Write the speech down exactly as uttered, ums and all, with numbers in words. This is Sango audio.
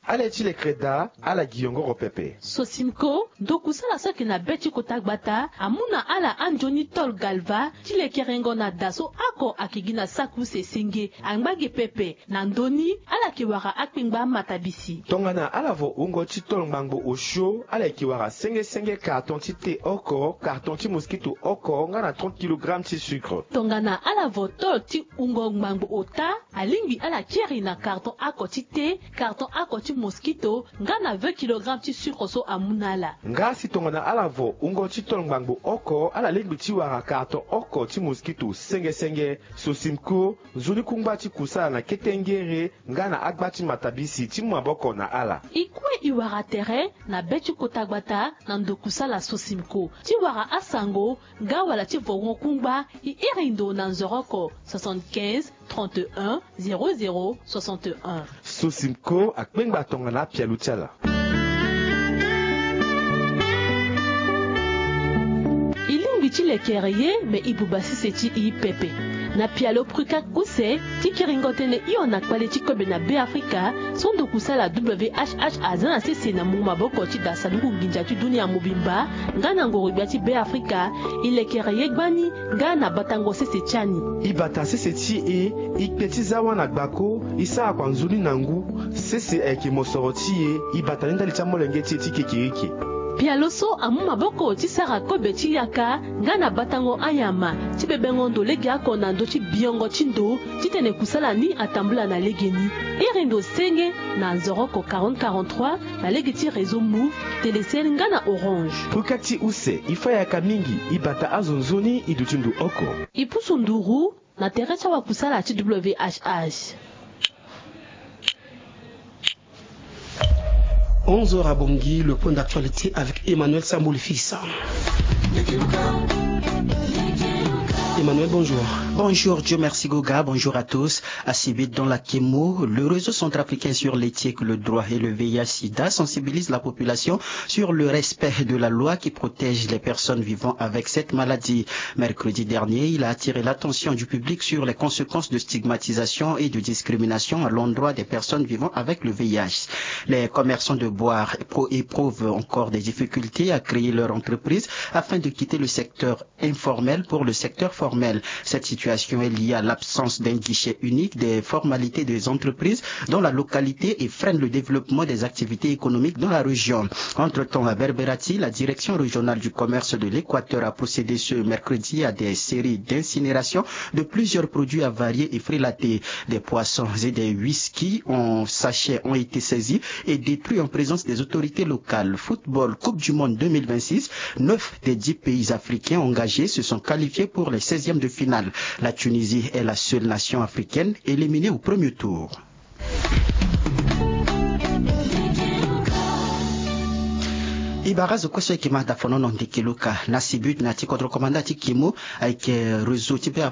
Ala ye ti lekere daa, ala gi yongoro pepe. Sosimco, ndo kusala so ayeke na be ti kota gbata, amu na ala anzoni tôle galva ti lekerengo na da so oko ayeke gi na saki use senge. Angba ge pepe. Na ndö ni, ala yeke wara akpengba matabisi. Tongana ala vo wungo ti tôle ngbangbo osio, ala yeke wara senge senge carton ti thé oko, carton ti mosquito oko, nga na trente kilogramme ti sucre. Tongana ala vo tôle ti wungo ngbangbo ota, alingbi ala kiri na carton oko ti thé, carton oko ti mosquito, nga na vingt kilogramme ti sucre so amu na ala. Nga si tongana ala vo wungo ti tôle ngbangbo oko, ala lingbi ti wara carton oko ti mosquito senge senge. Sosimco, nzoni kungba ti kusala na kete ngere nga na agba ti matabisi ti mu maboko na ala. E kue e wara tere na be ti kota gbata na ndo kusala Sosimco. Ti wara asango nga wala ti vo won kungba, e iri ndo na nzoroko soixante-quinze, trente et un, zéro zéro, soixante et un. Sosimco akpengba tongana apialo ti ala. E lingbi ti lekere ye, me e buba sese ti e pepe. Na pialo Prucac use, ti kiringo tënë hio na kpale ti kobe na Beafrika, so ndo kusala W H H aza na sese na mungo maboko ti da sanduku nginza ti dunia mobimba, nga na ngoro-gbia ti Beafrika, e lekere ye gbani, nga na batango sese ti ani. E bata sese ti e, e kpe ti za wâ na gbako, e sara kua nzoni na ngu, sese ayeke mosoro ti e, e bata ni ndali ti amolenge ti e ti kekereke. Pialo so amu maboko ti sara kobe ti yaka, nga na batango anyama, ti bebengo ndo legeoko na ndö ti biongo ti ndo, titene kusala ni atambula na legeni. Iri ndo senge na nzoroko quarante quarante-trois, na lege ti réseau Moov, Telecel nga na Orange. Prucac use, e fa yaka mingi, e bata azo nzoni, e duti ndo oko. E pusu nduru na tere ti awakusala ti W H H. Onze heures à Bangui, le point d'actualité avec Emmanuel Samboul Fils. Emmanuel, bonjour. Bonjour, Dieu merci Goga, bonjour à tous. À Sibit, dans la Kemo, le réseau centrafricain sur l'éthique, le droit et le V I H sida sensibilise la population sur le respect de la loi qui protège les personnes vivant avec cette maladie. Mercredi dernier, il a attiré l'attention du public sur les conséquences de stigmatisation et de discrimination à l'endroit des personnes vivant avec le V I H. Les commerçants de bois pro-, éprouvent encore des difficultés à créer leur entreprise afin de quitter le secteur informel pour le secteur formel. Cette situation est liée à l'absence d'un guichet unique des formalités des entreprises dans la localité et freine le développement des activités économiques dans la région. Entre-temps, à Berberati, la direction régionale du commerce de l'Équateur a procédé ce mercredi à des séries d'incinération de plusieurs produits avariés et frelatés. Des poissons et des whisky en sachet ont été saisis et détruits en présence des autorités locales. Football, Coupe du Monde deux mille vingt-six, neuf des dix pays africains engagés se sont qualifiés pour les seizièmes de finale. La Tunisie est la seule nation africaine éliminée au premier tour. E bara azo kue so ayeke ma dafonono ndeke luka na Sibut na ya ti kodro komanda ti Kemo ayeke réseau ti Be